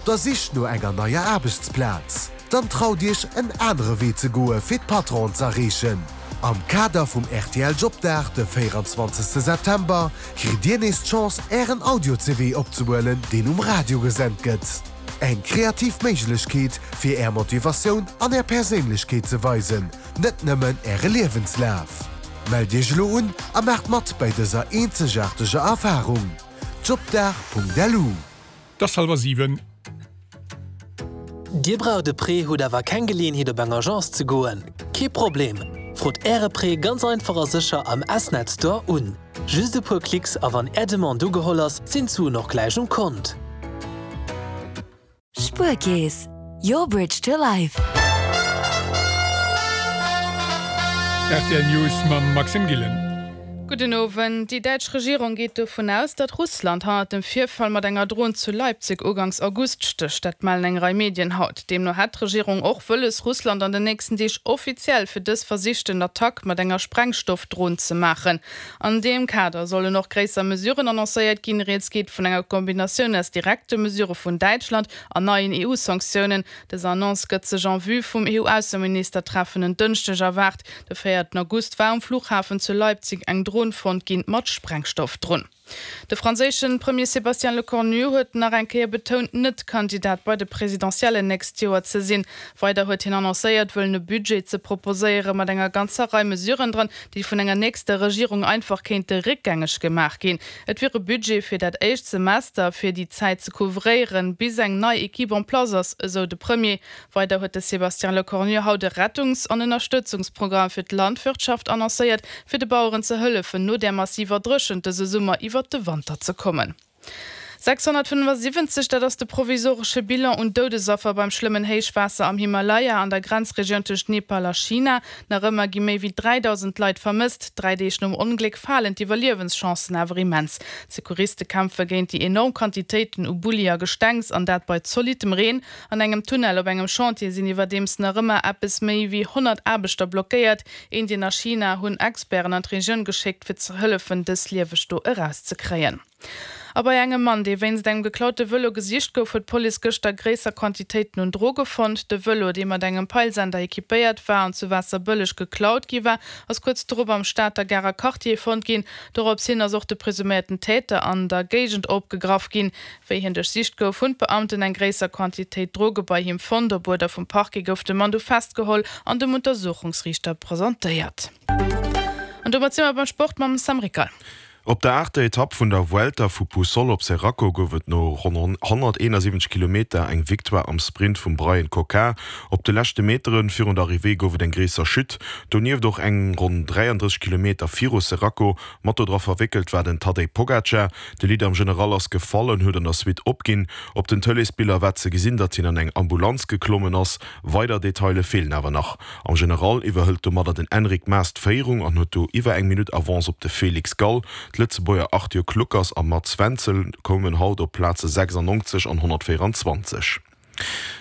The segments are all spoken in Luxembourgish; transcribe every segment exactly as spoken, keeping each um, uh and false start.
Der Sich no enger neier Aarbechtsplaz? Dann traut Iech en anere Wee ze goe fir d'Patronen z'erreechen. Am Kader vum rtl Jobdag de véierenzwanzegste September kritt Dir nees d'Chance Ären Audio-C V opzehuelen, deen um Radio gesent gëtt. Eng kreativ Méiglechkeet fir Är Motivatioun an Är Perséinlechkeet ze weisen, net nëmmen Äre Liewenslaf. Mellt Iech elo un a maacht mat bei dëser eenzegaarteger Erfarung. Jobdag Punkt L U. Et ass hallwer siwen. Dir braucht e Prêt, hutt awer keng Geleeënheet op eng Agence ze goen? Kee Problem! Frot Äre Prêt ganz einfach a sécher am S-Net Store un. Just e puer Klicks a wann Är Demande ugeholl ass, sinn d'Suen och gläich um Kont. Spuerkeess, your bridge to life. R T L News mam Maxime Gillen. Gudden Owend. Déi däitsch Regierung geet dovun aus, datt Russland hannert dem Virfall mat enger Dron zu Leipzig ugangs August stécht. Dat mellen eng Rei Medien haut. Deemno hätt d'Regierung och wëlles, Russland an den nächsten Deeg offiziell fir dës versichten Attack mat enger Sprengstoffdron ze maachen. An deem Kader sollen och gréisser Mesuren annoncéiert ginn. Rieds geet vun enger Kombinatioun aus direkte Mesurë vun Däitschland an neien E U-Sanktiounen. Dës Annonce gëtt sech en vue vum E U-Ausseministertreffen en Dënschdeg erwaart. De véierten August war um Flughafen zu Leipzig eng Dron fonnt ginn mat Sprengstoff drun. De franséische Premier Sébastien Lecornu huet nach eng Kéier betount, net Kandidat bei de Presidentiellen nächst Joer ze sinn. Weider huet hien annoncéiert, wëllen e Budget ze proposéiere mat enger ganzer Rei Mesuren dran, déi vun enger nächster Regierung einfach kéinte réckgängeg gemaach ginn. Et wier e Budget fir dat éischt Semester, fir déi Zäit ze couvréieren, bis eng nei Equipe en place ass, esou de Premier. Weider huet de Sébastien Lecornu haut e Rettungs an Ënnerstëtzungsprogramm fir d'Landwirtschaft annoncéiert, fir de Baueren ze hëllefen, no der massiver Dréchent dëse Summer iwwer de Wanter ze kommen. sechshonnertfënnefasiwwenzeg, dat ass de provisoresche Bilan un Doudesaffer beim schlëmmen Héichwaasser am Himalaya an der Grenzregioun tëscht Nepal a China. Nach ëmmer gi méi wéi dräidausend Leit vermësst. Dräi Deeg nom Ongléck falen d'Iwwerliewenschancen awer immens. D'Secouriste kämpfe géint déi enorm Quantitéiten u Bulli a Gestengs an dat bei zolittem Reen. An engem Tunnel op engem Chantier sinn iwwerdeems nach ëmmer eppes méi wéi honnert Aarbechter blockéiert. Indien a China hunn Experten an d'Regioun geschéckt fir ze hëllefen, dës lieweg do erauszekréien. A bei engem Mann, dee wéinst engem geklaute Vëlo gesicht gouf, huet d'Police gëschter gréisser Quantitéiten un Droge fonnt. De Vëlo, dee mat engem Peilsender equipéiert war an zu Waasserbëlleg geklaut gi war, ass kuerz drop am Stater Garer Quartier fonnt ginn. Dorops hin ass och de presuméierten Täter an der Géigend opgegraff ginn. Wéi hien duerchsicht gouf, hunn d'Beamten eng gréisser Quantitéit Droge bei him fonnt. Op Uerder vum Parquet gouf de Mann du festgeholl an dem Untersuchungsriichter presentéiert. An domat si mer beim Sport mam Sam Rickal. Op der aachter Etapp vun der Vuelta vu Puçol op Xeraco gouf et no honnerteenasiwwenzeg Kilometer eng Victoire am Sprint vum Bryan Coquard. Op de leschte Metere virun der Arrivée gouf et eng gréisser Chute. Donieft och eng ronn dräiandrësseg Kilometer viru Xeraco. Mat do dra verwéckelt war den Tadej Pogacar. De Leader am General ass gefall an huet an der Suite opginn. Op den Tëleesbiller war ze gesinn, datt hien an eng Ambulanz geklommen ass. Weider Detaile feelen awer nach. Am General iwwerhëlt domadder den Enric Mas d'Féierung an huet do iwwer eng Minutt Avance op de Felix Gall. D'Lëtzebuerger Arthur Kluckers a Mats Wenzel koumen haut op d'Plaze sechsannonzeg an honnertvéierenzwanzeg.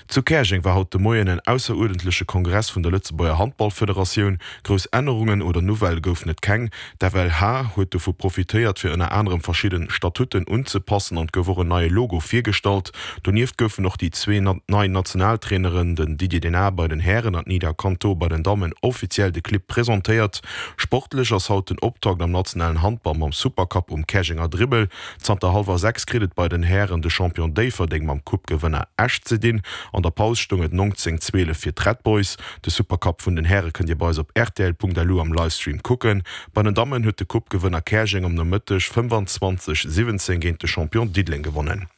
Zu Käerjeng war haut de Moien en ausseruerdentleche Kongress vun der Lëtzebuerger Handballfederatioun. Grouss Ännerungen oder Nouvellë goufen et keng. D'F L H huet dovu profitéiert, fir ënner anerem verschidde Statuten unzepassen an et gouf och en neie Logo virgestallt. Donieft goufen och déi zwee nei Nationaltraineren, den Didier Denard bei den Hären an d'Nida Canto bei den Dammen, offiziell de Clibb presentéiert. Sportlech ass haut den Optakt am nationalen Handball mam Supercup um Käerjenger Dribbel. Zanter hallwer sechs kritt et bei den Hären de Champion Déifferdeng mam Coupe-Gewënner Esch ze dinn. An der Paus stoung et neunzehn zwielef fir d'Red Boys. De Supercup vun den Häre kënnt Dir bei eis op R T L Punkt L U am Livestream kucken. Bei den Dammen huet de Coupe-Gewënner Käerjeng am Nomëtteg fënnefanzwanzeg siwwenzéng géint de Champion Diddeleng gewonnen.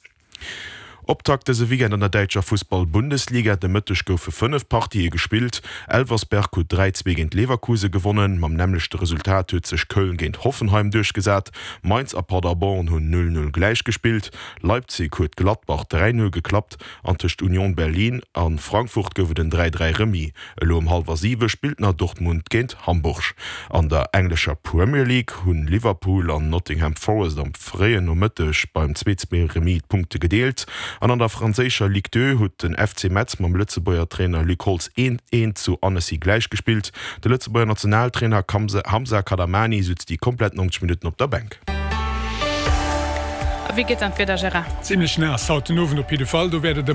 Optakt dëse Weekend an der däitscher Fussball-Bundesliga. De Mëtteg goufe fënnef Partië gespillt. Elversberg huet dräi zwee géint Leverkusen gewonnen. Mam nämmlechte Resultat huet sech Köln géint Hoffenheim duerchgesat. Mainz a Paderborn hunn null null gläich gespillt. Leipzig huet Gladbach dräi null geklappt an tëscht Union Berlin a Frankfurt gouf et en dräi dräi Remis. Elo um hallwer siwe spillt nach Dortmund géint Hamburg. An der englescher Premier League hunn Liverpool an Nottingham Forest am fréien Nomëtteg beim zwee zwee Remis d'Punkte gedeelt. An an der franséischer Ligue deux huet den F C Metz mam Lëtzebuerger Trainer Luc Holtz eent eent zu Annecy gläich gespillt. De Lëtzebuerger Nationaltrainer Hamza Kadamani sutz déi komplett neunzeg Minutten op der Bänk. A wéi geet dann d'Wieder, Gérard? Zimlech naass haut den Owend op jidde Fall. Do wäert et